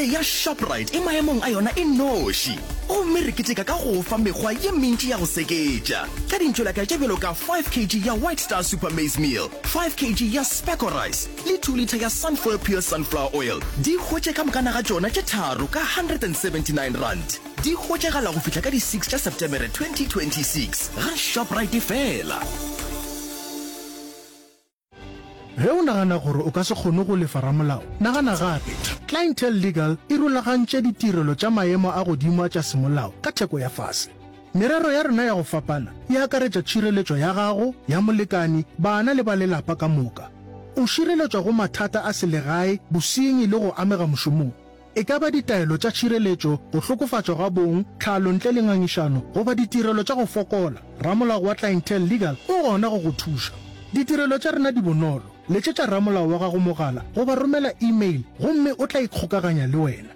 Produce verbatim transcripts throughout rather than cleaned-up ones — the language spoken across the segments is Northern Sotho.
Tšhelete ya Shoprite e maemong a yona e noši, gomme re keteka ka go fa mekgwa ye mentši ya go seketša ka dintšolaka tše bjalo ka five kg ya White Star Super Maize Meal, five kg ya Specco Rice le two litre ya Sunfoil Pure Sunflower Oil. Di hwetše ka mokana ga tšona tše tharo ka hundred and seventy nine rand. Di hwetšagala go fihla ka di six tša Septemere twenty twenty six ga Shoprite fela. Ge o nagana gore o ka se kgone go lefa ramolao, nagana gape. Clientele Legal e rulagantše ditirelo tša maemo a godimo a tša semolao ka theko ya fase. Merero ya rena ya go fapana e akaretša tšhireletšo ya gago, ya molekani, bana le ba lelapa ka moka. O šireletšwa go mathata a selegae, bosenyi le go amega mošomong. E ka ba ditaelo tša tšhireletšo, go hlokofatšwa ga bong, tlhalo ntle le ngangišano, goba ditirelo tša go fokola, ramolao wa Clientele Legal o gona go go thuša. Ditirelo tša rena di bonolo. Letšetša ramolao wa gago mogala goba romela email gomme o tla ikgokaganya le wena.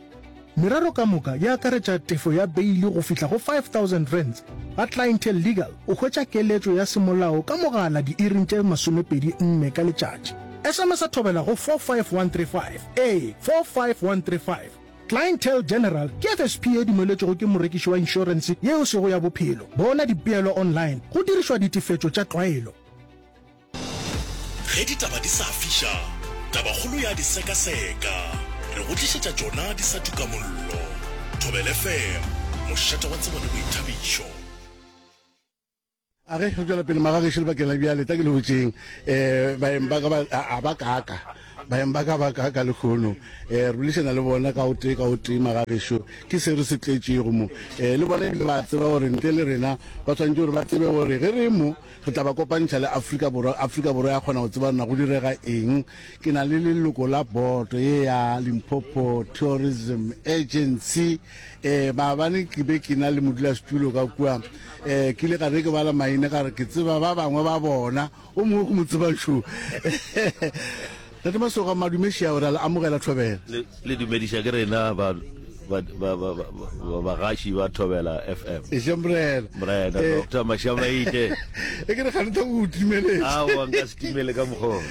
Merero ka moka e akaretša tefo ya beili go fihla go five thousand rands. Ga Clientele Legal o hwetša keletšo ya semolao ka mogala diiring tše masomepedi nne ka letšatši. S M S a thobela go four five one three five, ee, four five one three five. Clientele General ke F S P e dumeletšwego ke morekiši wa inšorense ye e sego ya bophelo. Bona dipeelo online go dirišwa ditefetšo tša tlwaelo. Ge ditaba di sa fiša, tabakgolo ya di sekaseka. Re go tlišetša tšona di sa tuka mollo. Thobela F M, mošate wa tsebo le boithabišo. A ge re tšwela pele magagešo lebakeng la bjale, tla ke le botšeng, um baeng ba ka ba, a, a ba kaaka, baeng ba ka ba kaaka lehono. Um re boledišana le bona ka o tee ka o tee magagešo, ke se re se tletšego mo. Um le bona ebile ba tseba gore ntle le rena ba swanetše gore ba tsebe gore ge re mo re tla ba kopantšha le Afrika Borwa, Afrika Borwa ya kgona go tseba na go direga eng. Ke na le leloko la boto ye ya Limpopo Tourism Agency. Eh, maabane ke be ke na le modulasetulo ka kua, eh, ke ile ka re ke bala maina ka re ke tseba ba bangwe ba bona, o mongwe ke mo tseba šo. Tate Masoga, madumeši ao, re a le amogela Thobela. Le, le dumediša ke rena ba, ba, ba, ba, ba, ba, bagaši ba Thobela F M. Eša morena. Morena, Eh, Doctor Mashamaite. E ke re gane tha o timeletše. Aowa, nka se timele ka mokgwa o.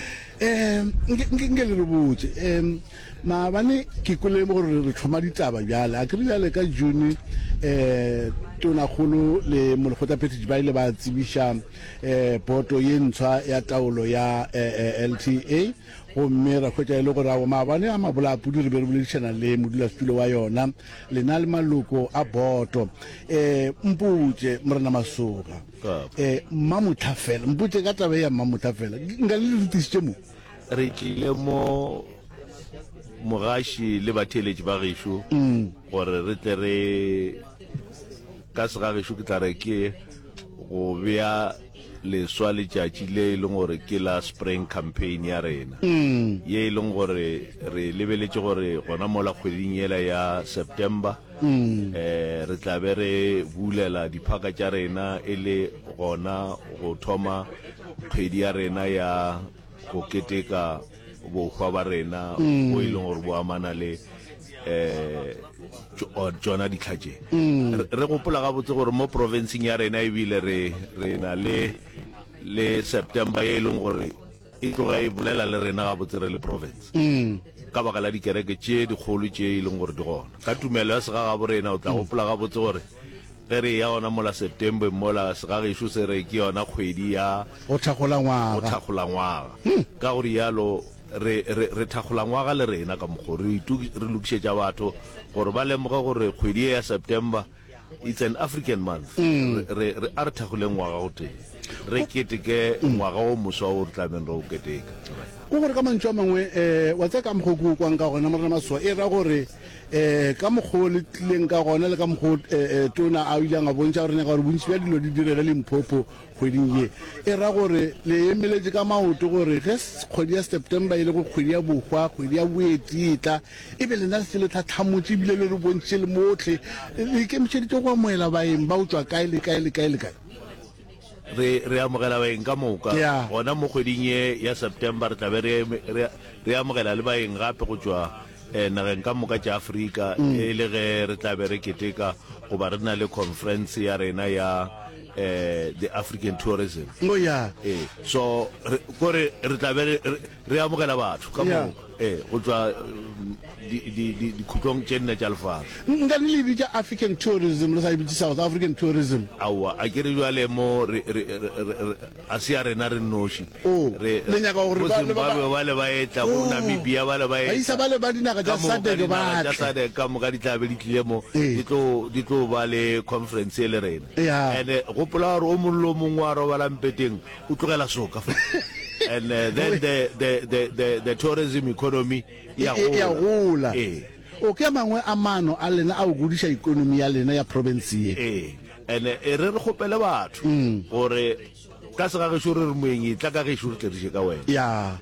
Eh, nke, nke, nke le re botše, em, maabane ke kwele gore re thoma ditaba bjale. A ke re bjale ka June, eh, Tonakgolo le Molekgotlaphethiši ba ile ba tsebiša, eh, boto ye ntshwa ya taolo ya, eh, eh, L T A, gomme ra hwetša e le gore ao maabane a mabolapudi re be re boledišana le modulasetulo wa yona, lena le maloko a boto. Eh, mpotše, Morena Masoga, Kapa. eh, Mmamotha fela, mpotše ka taba ya Mmamotha fela, nka le re tlišitše mo? Re tlile mo mogaši le batheeletši ba gešo Mm. gore re tle re ka segagešo ke tla re ke go bea leswa letšatši le e leng gore ke la spring campaign ya rena, Mm. ye e leng gore re lebeletše gore gona mola kgweding yela ya September, Mm. eh, re tla be re bulela diphaka tša rena e le gona go thoma kgwedi ya rena ya go keteka bohwa ba rena, Mm. bo e leng gore bo amana le, eh, tšo-, tšona ditlha tše. Mm. Re, re gopola gabotse gore mo provinceng ya rena ebile re, re na le, le September ye e leng gore e tloga e bolela le rena gabotse re le province. Mm. Ka baka la dikereke tše dikgolo tše e leng gore di gona. Ka tumelo ya segagabo rena o tla Mm. gopola gabotse gore ge re ya gona mola September mola segagešo se re ke yona kgwedi ya go thakgola ngwaga. Go thakgola ngwaga. Hmm. Ka go rialo re, re, re thakgola ngwaga le rena ka mokgo re itu-, re lokišetša batho gore ba lemoge gore kgwedi ye ya September it's an African month. Mm. Re, re, re, a re thakgoleng ngwaga o tee, re keteke Mm. ngwaga o moswa o re tlabeng re o keteka. Ko gore ka mantšu a mangwe, eh, wa tseba ka mokgo ke o kwang ka gona, Morena Masoga, e ra gore, eh, ka mokgo le tlileng ka gona le ka mokgo, eh, eh, tona a ileng a bontšha gore nyaka gore bontši bja dilo di direge Limpopo kgweding ye, e ra gore le emeletše ka maoto gore ge s-, kgwedi ya September e le go kgwedi ya bohwa, kgwedi ya boeti e tla, e be lena le se le tlhatlhamotše ebile le re bontšhitše le mohle, le ikemišeditše go amohela baeng ba go tšwa kae le kae le kae le kae. Re, re amogela baeng ka moka. Yeah. Gona mo kgweding ye ya September re tla be re, re, re amogela le baeng gape go tšwa, eh, nageng ka moka tša Afrika, Mm. e le ge re tla be re keteka goba re na le conference ya rena ya, eh, the African Tourism. Oh, yeah. Eh, so re, kore re tla be re, re, re amogela batho ka Yeah. moka, eh, go tšwa, dikhutlong tše nne tša lefase. Nka le le bitša African tourism, le sa e bitše South African tourism. Aowa, a ke re bjale mo re, re, re, re, a se ya rena re nnoši. Oh, Re, le nyaka gore bo ba, le ba, ba, Zimbabwe bale ba etla, bo oh, Namibia bale ba baisa etla, bale ba dinaga ka tša moka SADC ba dinaga tša tle. SADC ka moka di tla be di tlile mo, Ee. di tlo, di tlo ba le conference ye le rena. Ya. And-e gopola gore o mongwe le o mongwe wa robalang mpeteng o tlogela soka fa. And uh, then the, the, the, the, the tourism economy E, ya e, ya gola. gola. Ee. O ke a mangwe a maano a lena a go godiša ikonomi ya lena ya province ye. Ee. And e re re kgopele batho gore ka segagešo re re moeng e tla ka gešo re tle re je ka wena. Ya.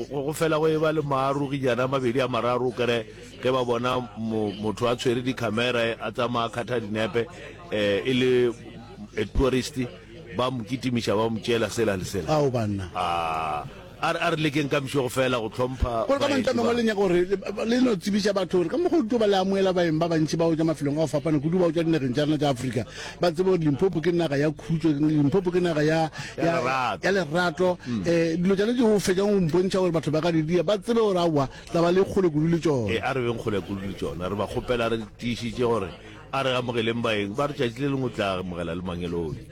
Go go fela go e ba le maaroginyana a mabedi a mararo o kere ge ba bona mo, motho a tshwere dikhamera a tsamaya a kgatha dinepe eh, e le a tourist ba mo kitimiša ba mo tšeela sela le sela. Ao banna. A a re a re lekeng ka mšego fela go hlompha Gore ka mantšu a baeti mangwe ba. le nyaka gore le, le no tsebiša batho gore ka mokgwa o tlo ba le amoela baeng ba bantši ba go tšwa mafelong a go fapana kudu ba go tšwa dinageng tša rena tša Afrika, ba tsebe gore Limpopo ke naga ya khutšo, Limpopo ke naga ya, Ya ya, lerato. ya lerato. Eh, dilo tšona tše o fetšang go mpontšha gore batho ba ka di dia, ba tsebe gore aowa tla ba le kgole kudu le E tšona. a re beng kgole kudu le tšona. Re ba kgopela re tiišitše gore a re amogeleng baeng, ba re tšatši le lengwe o tla amogela le mangeloi.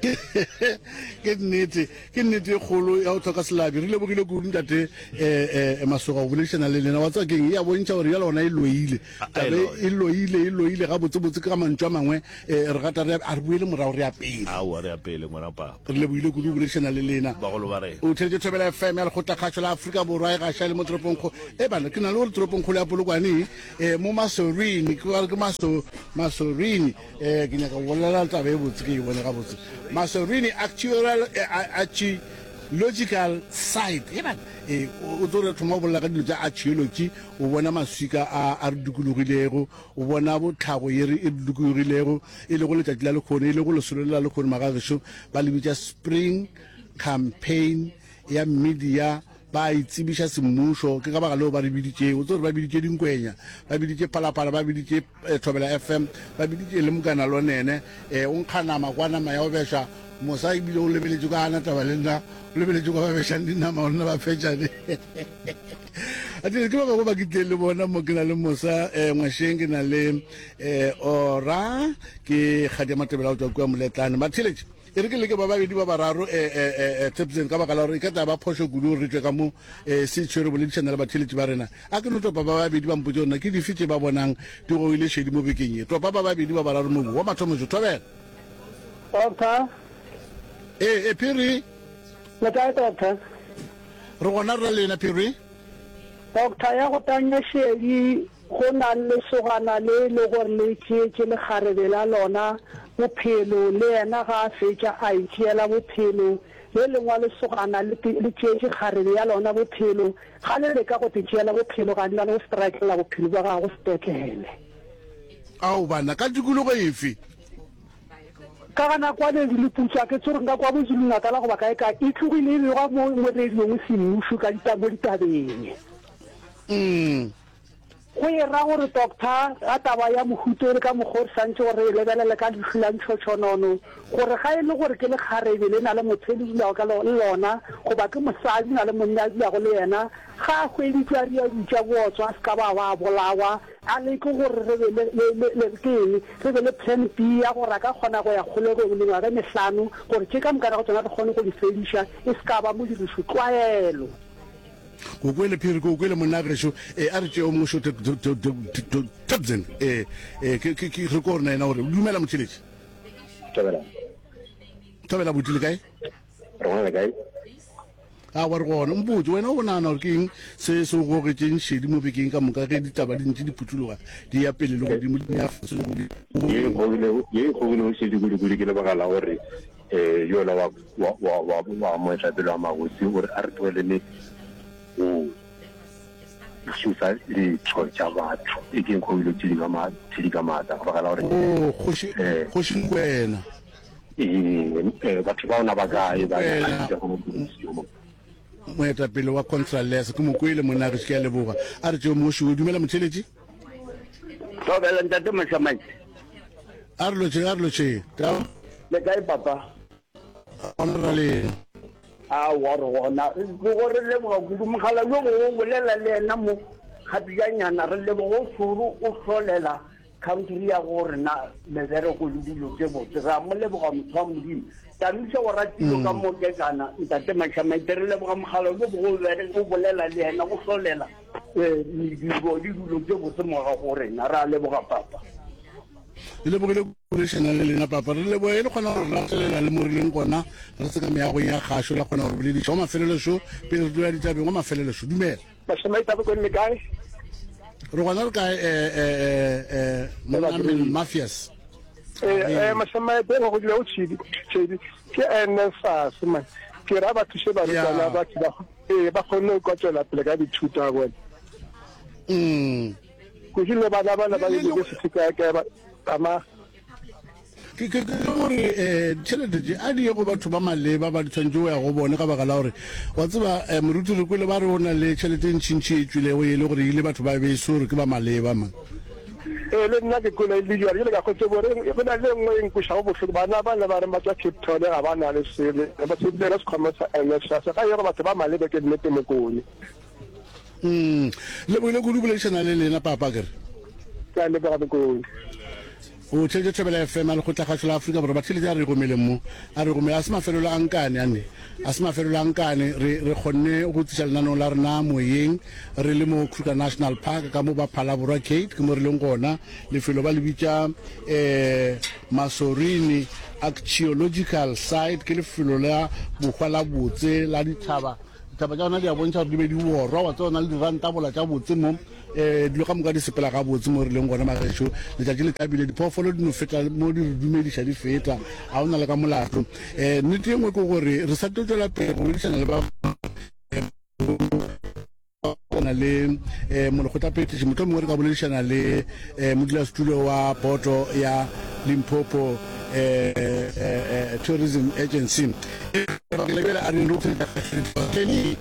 Ke nnete, ke nnete e kgolo ya go hloka selabi. Re lebogile kudu ntate eh, eh, Masoga go boledišana le lena. Wa tseba keng, e a bontšha gore bjale gona e loile. A, a e Taba e loya. e loile, e loile gabotsebotse. Ka mantšu a mangwe eh, re gata re ya, a re boele morago re ya pele. Aowa, re ya pele ngwana papa. Re lebogile kudu go boledišana le lena. Bagolo ba rena. O theletše Thobela F M ya Lekgotlakgašo la Afrika Borwa e gaša le mo toropongkgolo. E bana, ke na le gore toropongkgolo ya Polokwane eh, mo Masorini, ke ba re ke Maso, Masorini. Eh, ke nyaka go bolela taba e botse, ke e bone gabotse. Masorini Actuarial, eh, Archaeological Site. E bana, eh, o, o tlo re thoma go bolela ka dilo tša archaeology, o bona maswika a, a re dikologilego, o bona botlhago ye re e re dikologilego, e lego letšatši la lekgono, e lego lesolo le la lekgono magagešo, ba le bitša Spring Campaign ya media, ba itsebiša semmušo. Ke ka baka leo ba re biditšego. O tsebe gore ba biditše Dinkwenya, ba biditše Phalaphala, ba biditše eh, Thobela F M, ba biditše le Mokana Lonene. Eh, o nkga nama kwa nama ya go beša mosa, ebile o lebeletše kwa gana taba le nna, o lebeletše kwa ba bešang dinama gore nna ba fetšane. Atile ke ba bangwe ba ke tlileng le bona mo, ke na le Mosa eh, Ngwasheng, ke na le eh, Ora, ke Kgadia Matebela go tšwa kua Moletlane. Batheeletši, e re ke leke ba babedi ba bararo eh, eh, eh, eh, Tebsen, ka baka la gore e ka tla ba phošo kudu gore re tšwe ka mo eh, se tšhwere boledišana le batheeletši ba rena. A ke no topa ba babedi ba mpotše gore na ke dife tše ba bonang di gogile šedi mo bekeng ye. Topa ba babedi ba bararo mo wa mathomo jo. Thobela. Doctor, Ee, e Phiri, le kae doctor? re gona re lena Phiri. Doctor, ya go tanya šedi go na le lesogana le le gore le tšeetše lekgarebe la lona bophelo, le yena ga a fetša a itšeela bophelo. Le lengwe lesogana le te- le tšeetše kgarebe ya lona bophelo, ga le leka go te tšeela bophelo ga le go strikela bophelo bja gago sepetlele. Ao bana, ka tikologo efe? Ka gana kwa le le putswa ke tsore nka kwa boZulu Natal goba kae kae, e tlogile e begwa mo mo radiong semmušo ka dita mo ditabeng. Mm. Go e ra gore doctor ga taba ya mohuto le ka mokgwa o re santse gore re e lebelele ka leihlo la ntšhotšhonono, gore ga e le gore ke lekgarebe le na le motho e le dulago ka le lona, goba ke mosadi na le monna a dulago le yena, ga a hweditšwe a ria ditša bootswa a se ka ba ba bolawa, a leke gore re be le, le, le, le ke eng, re be le plan B ya gore a ka kgona go ya kgolegong mengwaga e mehlano, gore tše ka moka go tsona re kgone go di fediša, e se ka ba modirišo tlwaelo. Ko kwele Phiri, ko kwele monna gešo. Eh, a re tšeo mongwe šo Tebsen. Eh, eh, ke ke ke re ko rena yena gore dumela motheletši. Thobela. Thobela buti le kae? Re gona le kae? A wa re gona. Mpotse wena o nagana gore ke eng se se o gogetšeng šedi mo bekeng ka moka ge ditaba di ntše di phuthuloga di ya pele le godimo di ya fase le godimo. Ye e gogilego ye e gogilego šedi kudu-kudu ke lebaka la gore eh yola wa wa wa wa wa moetapele wa magosi o re a re tlogelele go šosa ditho tša batho. E ke gogile tšedi ka ma tšedi ka maatla ka baka la gore Oh, kgoši eh kgoši Nkwena. eh eh, batho ba ona ba kae ba Nkwena. nyaka go mo Moetapele wa Contralesa ke mo kwele monna gešo, ke a leboga. A re tšeo mongwe šo. Dumela motheletši. Thobela ntate Mošamaite. A re lotšheng, a re lotšheng. Taba Le kae papa? gona ra lena. Aowa re gona. Ke gore leboga kudu mogala yo mongwe o bolela le yena mo. Gapejanyana re leboga o šoro o hlolela country ya go rena mebereko le dilo tše botse. Re a mo leboga motho wa Modimo. Tamiša o ratile ka mo kekana ntate Mashamaite, re leboga mogala lo bo o bolela le yena go hlolela eh, mediro le dilo tše botse mo ga go rena. Re a leboga papa. Le lebogile boledišana le lena papa. Re leboge le kgona gore latelela le mo re leng gona re se ka meagong ya kgašo la kgona gore bolediša wa mafelelo pele re tloya ditabeng. Wa mafelelo, dumela. Mashamaite a bokone le kae? Re gona re kae eh eh monna Mafias? Eh eh Mashamaite go go o tshedi tshedi ke N S F A S man. Ke ra ba thuse barutwana ba ba eh ba kgone go tswela pele ka dithuto a bona. Mm Kudu le bana bana ba university ka ka ba ama. Ke ke ke gore eh tšhelete tše a di ye go batho ba maleba ba di tshwanetse go ya go bone, ka baka la gore wa tseba eh, moruti re kwele ba re o na le tšhelete e ntšhintšhi e tswilego e le gore ile batho ba be se gore ke ba maleba man. Ee, le nna ke kwele le jwale jale ka kgotse bore go na le nngwe e nkwešago bohloko, bana ba le ba reng ba tswa Cape Town ga ba na le sele ba tshepile sekhwama sa N S F A S ga ye go batho ba maleba, ke nnete Mokone. mm lebogile kudu boledišana le lena papa kere. Ke a leboga Mokone. O tšhelete Thobela F M a lekgotlakgašo la Afrika Borwa. Batšhelete a re gomeleng mo a re gomele a se mafelelo a nkane ane a se mafelelo a nkane re re kgonne go tliša lenaneo la rena moyeng re le mo Kruger National Park ka mo ba Phalaborwa Gate, ke mo re leng gona. Lefelo ba le bitša um Masorini Archaeological Site. Ke lefelo la bohwa la botse la dithaba. Dithaba tša gona di a bontšha gore di be di worwa wa tsona le dirantabola tša botse mo um dilo ka moka di sepela ga botse mo re leng gona magešo. Letšatši le thabile, diphoofolo di no feta mo di re dumediša di feta, ga o na le ka molato. um nnete e nngwe ke gore re sa tlo tswela pele go boledišana le ba na le um molekgotlaphethiši, motlho mongwe re ka boledišana le um modulasetulo wa boto ya Limpopo um Tourism Agency. Lebele a re.